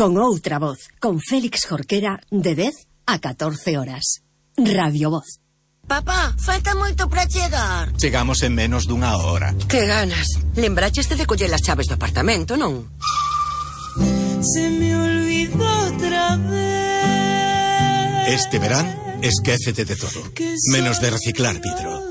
con outra voz, con Félix Jorquera, de 10 a 14 horas. Radio Voz. Papá, falta moito para chegar. Chegamos en menos dunha hora. Que ganas. Lembraches de coller as chaves do apartamento, non? Se me olvidó otra vez. Este verán, esquécete de todo, menos de reciclar vidro.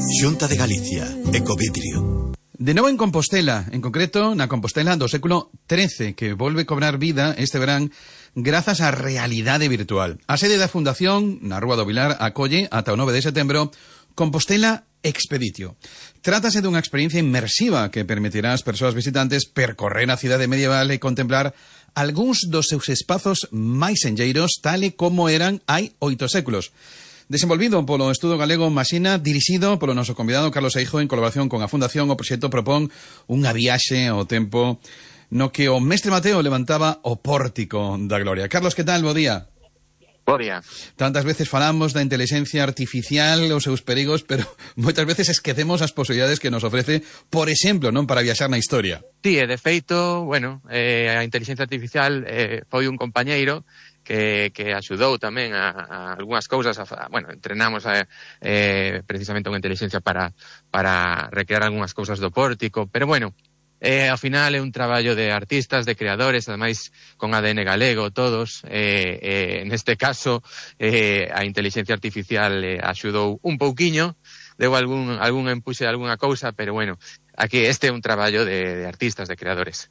Xunta de Galicia, Ecovidrio. De novo en Compostela, en concreto na Compostela do século XIII, que volve cobrar vida este verán grazas á realidade virtual. A sede da Fundación, na Rúa do Vilar, acolle ata o 9 de setembro Compostela Expeditio. Trátase dunha experiencia inmersiva que permitirá ás persoas visitantes percorrer a cidade medieval e contemplar algúns dos seus espazos máis enlleiros, tal e como eran hai 8 séculos. Desenvolvido polo Estudo Galego Masina, dirixido polo noso convidado Carlos Eijo en colaboración con a Fundación, o proxecto propón unha viaxe ao tempo no que o mestre Mateo levantaba o pórtico da gloria. Carlos, que tal? Bo día. Bo día. Tantas veces falamos da inteligencia artificial, os seus perigos, pero moitas veces esquecemos as posibilidades que nos ofrece, por exemplo, non para viaxar na historia. Sí, de feito, a inteligencia artificial foi un compañeiro que axudou tamén a algunhas cousas, entrenamos precisamente unha inteligencia para recrear algunhas cousas do pórtico, pero ao final é un traballo de artistas, de creadores, ademais con ADN galego todos, neste caso a inteligencia artificial axudou un pouquiño, deu algún empuxe de algunha cousa, pero aquí este é un traballo de artistas, de creadores.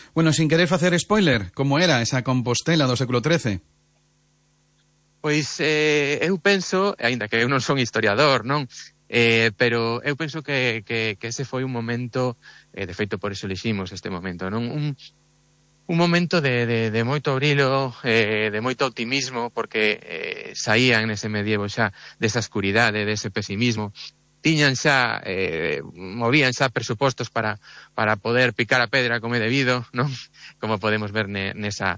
Bueno, sin querer facer spoiler, como era esa Compostela do século XIII? Pois eu penso, aínda que eu non son historiador, non? Pero eu penso que ese foi un momento, de feito por eso eliximos este momento, non? Un momento de moito brillo, de moito optimismo, porque saían nese medievo xa desa escuridade, dese pesimismo. Tiñan xa, movían xa presupostos para poder picar a pedra como é debido, non? Como podemos ver nesa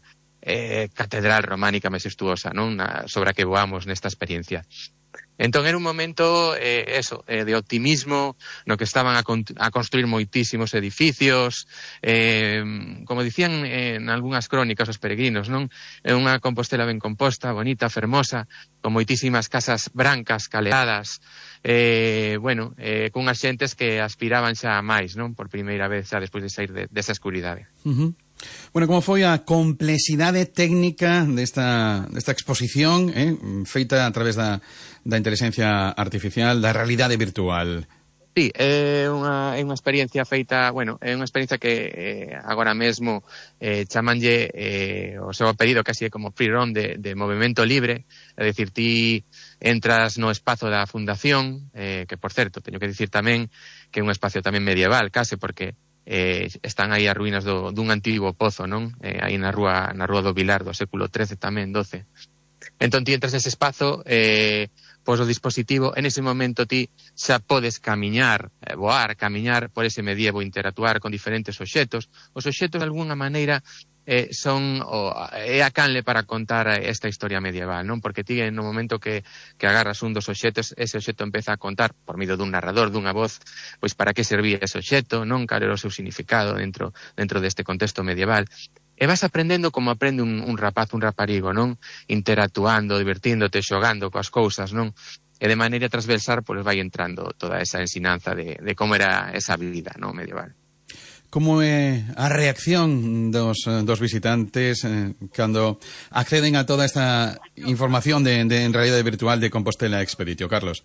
catedral románica majestuosa, non? Sobre a que voamos nesta experiencia. Entón era un momento de optimismo no que estaban a construir moitísimos edificios, como dicían en algunhas crónicas os peregrinos, non? É unha Compostela ben composta, bonita, fermosa, con moitísimas casas brancas, caleadas, cunhas xentes que aspiraban xa a máis, non? Por primeira vez xa despois de sair desa escuridade. Bueno, como foi a complexidade técnica desta exposición feita a través da inteligencia artificial, da realidade virtual? Sí, é unha experiencia feita, é unha experiencia que agora mesmo chamanlle o seu apelido casi como free roam de movimento libre, é dicir, ti entras no espazo da Fundación, que por certo, teño que dicir tamén que é un espacio tamén medieval, case, porque están aí as ruínas dun antigo pozo, non? Aí na rúa do Vilar do século XIII tamén, XII. Entón ti entras nese espazo, pos o dispositivo, en ese momento ti xa podes camiñar por ese medievo, interactuar con diferentes obxetos. Os obxetos de alguna maneira é a canle para contar esta historia medieval, non? Porque ti no momento que agarras un dos obxetos, ese obxeto empeza a contar por medio dun narrador, dunha voz, pois para que servía ese obxeto, non? Cal era o seu significado dentro deste contexto medieval. E vas aprendendo como aprende un rapaz, un raparigo, non? Interactuando, divertíndote, xogando coas cousas, non? E de maneira transversal, pois vai entrando toda esa ensinanza de como era esa vida, non? Medieval. Como é a reacción dos visitantes cando acceden a toda esta información en realidade virtual de Compostela Expeditio, Carlos?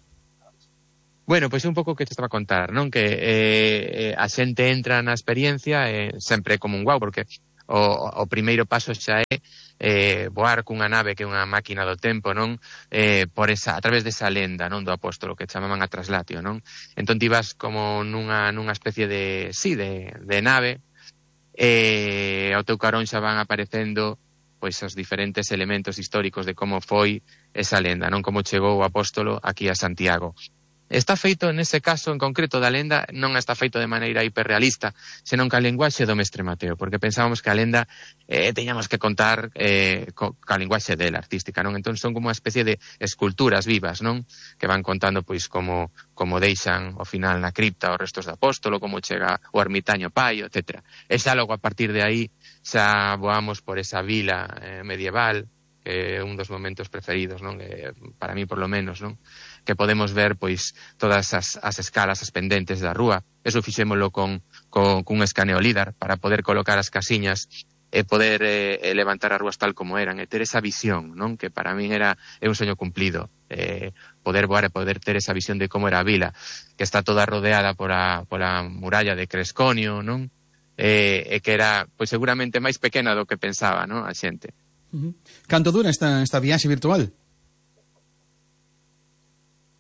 Bueno, pois é un pouco o que te estaba a contar, non? Que a xente entra na experiencia sempre como un guau, porque o primeiro paso xa é voar cunha nave que é unha máquina do tempo, non? A través desa lenda, non? Do apóstolo que chamaban a traslatio, non? Entón ti vas como nunha especie de nave, ao teu carón xa van aparecendo pois os diferentes elementos históricos de como foi esa lenda, non? Como chegou o apóstolo aquí a Santiago. está feito, nese caso en concreto da lenda, non está feito de maneira hiperrealista, senón ca linguaxe do mestre Mateo, porque pensábamos que a lenda teñamos que contar ca linguaxe dela, artística, non? Entón son como unha especie de esculturas vivas, non? Que van contando pois como deixan ao final na cripta os restos do apóstolo, como chega o ermitaño Paio, etc. E xa logo a partir de aí xa voamos por esa vila medieval, que é un dos momentos preferidos, non? Para mí por lo menos, non? Que podemos ver pois todas as escalas, as pendentes da rúa. Eso fixémolo con un escaneo LIDAR para poder colocar as casiñas e poder levantar as rúas tal como eran e ter esa visión, non? Que para min é un soño cumplido, poder voar e poder ter esa visión de como era a vila, que está toda rodeada pola muralla de Cresconio, non? E que era pois seguramente máis pequena do que pensaba, non? A xente. Canto dura esta viaxe virtual?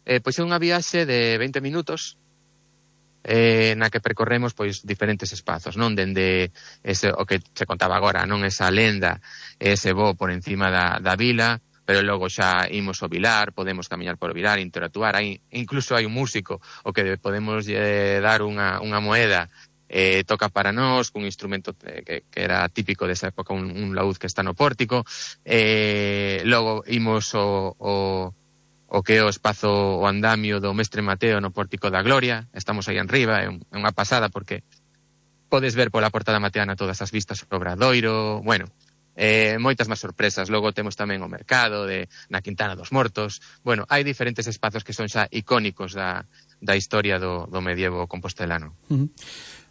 Pois é unha viaxe de 20 minutos na que percorremos pois diferentes espazos, non? Dende ese, o que se contaba agora, non? Esa lenda, ese voo por encima da vila, pero logo xa imos ao vilar, podemos camiñar por o vilar, interactuar, incluso hai un músico o que podemos dar unha moeda, toca para nós, cun instrumento que era típico desa época, un laúd que está no pórtico, logo imos o que é o espazo, o andamio do mestre Mateo no Pórtico da Gloria, estamos aí enriba, é unha pasada porque podes ver pola portada mateana todas as vistas sobre Obradoiro, bueno, moitas máis sorpresas. Logo temos tamén o mercado na Quintana dos Mortos, bueno, hai diferentes espazos que son xa icónicos da historia do medievo compostelano.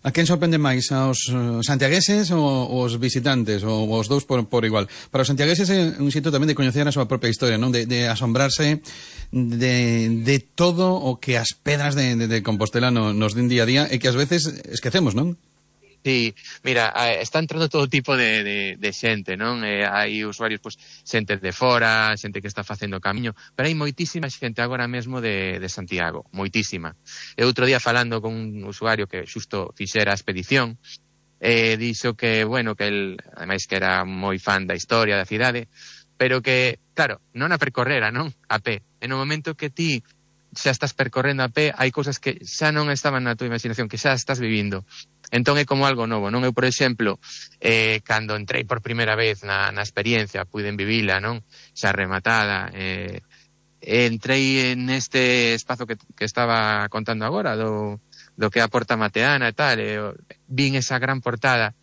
A quen sorprende máis, aos santiagueses ou os visitantes, ou os dous por igual? Para os santiagueses é un xito tamén de coñecer a súa propia historia, non? De asombrarse de todo o que as pedras de Compostela nos din día a día e que ás veces esquecemos, non? Sí, mira, está entrando todo tipo de xente, non? Hai usuarios, pois, xente de fora, xente que está facendo camiño, pero hai moitísima xente agora mesmo de Santiago, moitísima. E outro día falando con un usuario que xusto fixera a expedición, dixo que, bueno, que el, ademais que era moi fan da historia da cidade, pero que, claro, non a percorrera, non? A pé. En o momento que ti xa estás percorrendo a pé, hai cousas que xa non estaban na tua imaginación, que xa estás vivindo. Entón é como algo novo, non? Eu, por exemplo, cando entrei por primeira vez na experiencia, puiden vivila, non? Xa rematada, entrei neste espazo que estaba contando agora, do que é a Porta Mateana e tal, vin esa gran portada,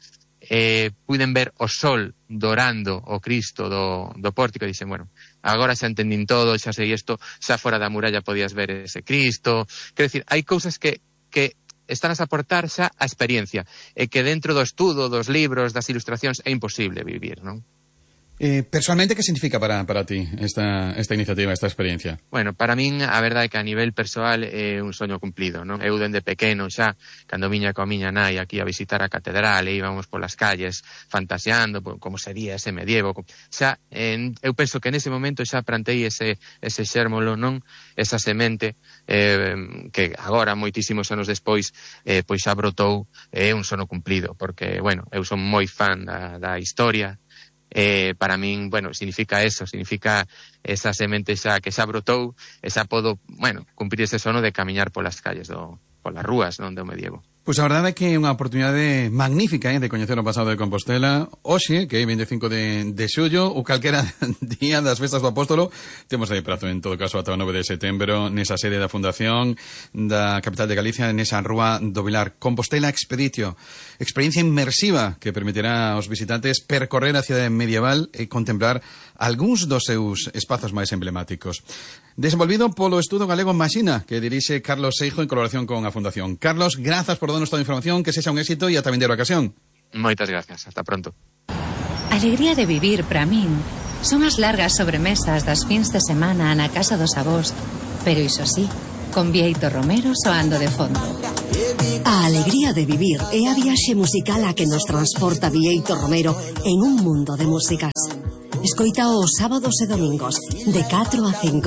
puiden ver o sol dorando o Cristo do pórtico, e dixen, bueno, agora xa entendín todo, xa sei isto, xa fora da muralla podías ver ese Cristo. Quero dicir, hai cousas que están a aportar xa a experiencia e que dentro do estudo, dos libros, das ilustracións é imposible vivir, non? Personalmente, que significa para ti esta iniciativa, esta experiencia? Bueno, para min, a verdade é que a nivel persoal é un soño cumplido, non? Eu dende pequeno xa, cando viña coa miña nai aquí a visitar a catedral e íbamos polas calles fantasiando como sería ese medievo, xa, eu penso que nese momento xa plantei ese xérmolo, non? Esa semente que agora, moitísimos anos despois, pois xa brotou, é un sono cumplido, porque, bueno, eu son moi fan da historia. Para min, bueno, significa eso, significa esa semente xa que xa brotou e xa podo, bueno, cumprir ese sono de camiñar polas calles polas rúas, non, do medievo. Pois a verdade é que é unha oportunidade magnífica de coñecer o pasado de Compostela. Hoxe, que é 25 de xullo, ou calquera día das festas do Apóstolo, temos aí prazo, en todo caso, ata o 9 de setembro, nesa sede da Fundación da capital de Galicia, nesa rúa do Vilar. Compostela Expeditio, experiencia inmersiva que permitirá aos visitantes percorrer a cidade medieval e contemplar algúns dos seus espazos máis emblemáticos. Desenvolvido polo Estudo Galego Maxina, que dirixe Carlos Seijo en colaboración con a Fundación. Carlos, grazas por darnos toda a información, que sexa un éxito e ata vindeira ocasión. Moitas gracias, hasta pronto. A alegría de vivir, para min, son as largas sobremesas das fins de semana na casa dos avós, pero iso sí, con Bieito Romero soando de fondo. A alegría de vivir é a viaxe musical a que nos transporta Bieito Romero en un mundo de músicas. Escoita os sábados e domingos, de 4 a 5.